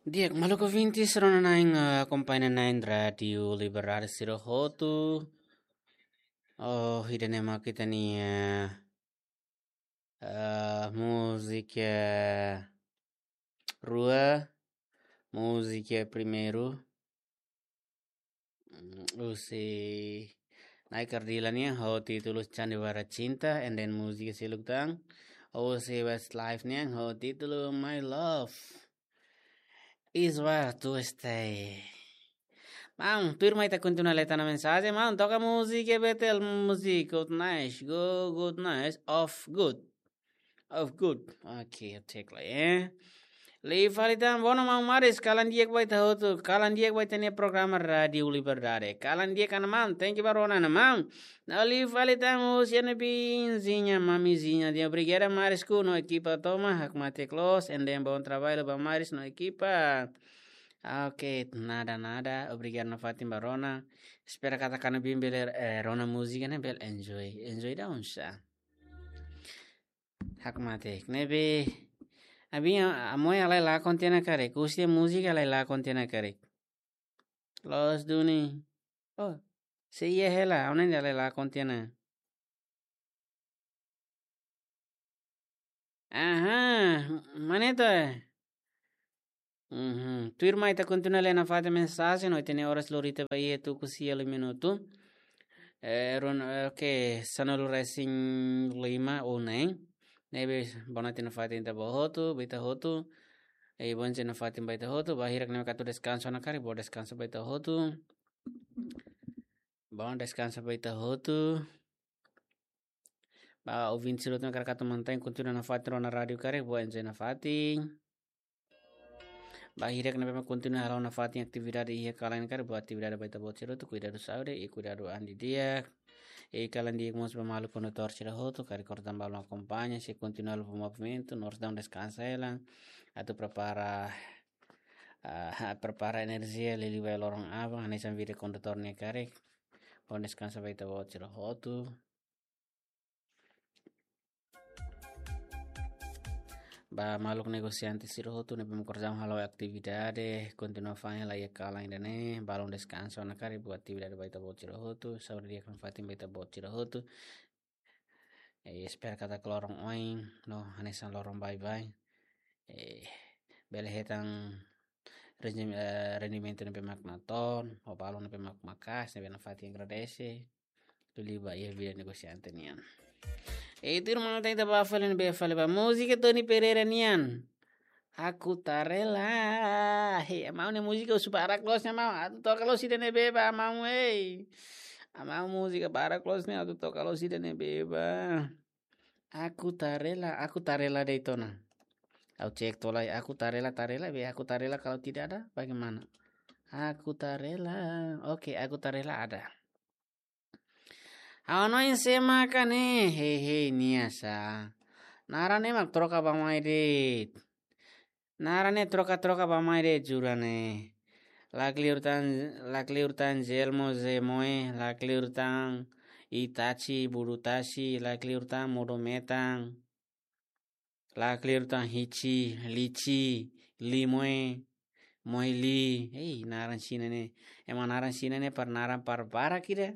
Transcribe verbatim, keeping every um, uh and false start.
Di'ak, maluk ouvintes, rona-na'in, eh, akompaña na'in Rádiu Liberdade sira hotu. Oh, ida-ne'e mak ita-nia, eh, múzika rua, múzika primeiru. Mm, husi Na'i Kardila nian ho títulu Sandiwara Cinta, and then múzika seluk tan husi Westlife nian ho títulu My Love Is Where to Stay. Maun, tuirmai ita kontinua lee tan mensajen, maun, toka múzika Betel, múzika good nice, go good nice, of good. Of good. Oke, cek lai, eh. Liu fali tan, bono maun Maris, kalan di'ak ba ita hotu, kalan di'ak ba ita-nia programa Rádiu Liberdade. Kalan di'ak ona maun, thank you ba rona ona maun. Liu fali tan, husi ami-nia biinha, mamizinha, di'ak, obrigada Maris ku no ekipa tomak, hakmatek loos, and then bom trabalho ba Maris no ekipa. Oke, nada, nada, obrigada nafatin ba rona. Espera katak ami-nia biin bele, eh, rona múzika ne'e bele enjoy. Enjoy da onsa. Hakmatek. Ne'ebé, ami-nia, ami-nia halai lakon tiha ona karik. Husi múzika halai lakon tiha ona karik. Loos duni. Oh, sei iha hela, ami-nia halai lakon tiha ona. Aha, maneto. Mhm. Tuirmai ita kontinua lee nafatin mensajen, no ita-nia oras lori tiha ba iha tuku sia liu minutu. Eh, rona, eh, oke, sanulu-resin-lima ou neen. Ne'ebé, bonatin nafatin ita ba hotu, ba ita hotu. Eh, bonse nafatin ba ita hotu, ba hirak ne'ebé atu deskansa ona karik, bom deskansa ba ita hotu. Bom deskansa ba ita hotu. Ba ouvinte sira hotu ne'ebé hakarak atu mantein kontinua nafatin rona rádiu karik, bom enjoy nafatin. Ba hirak ne'ebé mak kontinua halo nafatin atividade iha kalan karik, bom atividade ba ita-boot sira hotu, kuidadu saúde, i kuidadu an didi'ak. I kalan di'ak mós ba maluk kondutór sira hotu, karik orsida balun akompaña, sei kontinua halo movimentu, no orsida deskansa hela, atu prepara, ah, prepara enerjia, liuliu ba loron aban, hanesan vida kondutór nian karik. Bom deskansa ba ita-boot sira hotu. Ba maluk negosiante sira hotu ne'ebé mak orsida halo atividade, kontinua fa'an hela iha kalan ida-ne'e, balun deskansa ona karik, bom atividade ba ita-boot sira hotu, saúde di'ak nafatin ba ita-boot sira hotu. Eh, espera katak loron oin, no, hanesan loron baibain. Eh, bele hetan rendi-, eh, rendimentu ne'ebé mak natoon, ho balun ne'ebé mak maka'as, ne'ebé nafatin agradese. Liuliu ba iha vida negosiante nian. Eh, tuirmai ita ba fali ne'ebé fali ba múzika Tony Pereira nian. Aku tak rela. Hei, maun, ne'e múzika husu barak loos ne'e maun. Atu toka loos ida-ne'ebé ba maun, ei. Maun, múzika barak loos ne'e, atu toka loos ida-ne'ebé ba. Aku tak rela, aku tak rela de'it ona. Ha'u cek to'o lai, aku tak rela, tak rela, be aku tak rela kalau tidak ada, bagaimana? Aku tak rela. Oke, aku tak rela ada. Ha'u hanoin sé maka ne'e, hei, hei, nia sá. Naran ne'e mak troka bá-mai de'it. Naran ne'e troka-troka bá-mai de'it, jura ne'e. Lakleur tan, lakleur tan Jelmo Zemoe, lakleur tan Itachi Burutachi, lakleur tan Modo-Metan. Lakleur tan Hichi, Lichi, Limoe, Moe Li. Hei, naran Xina ne'e. Ema naran Xina ne'e para naran para barak ida.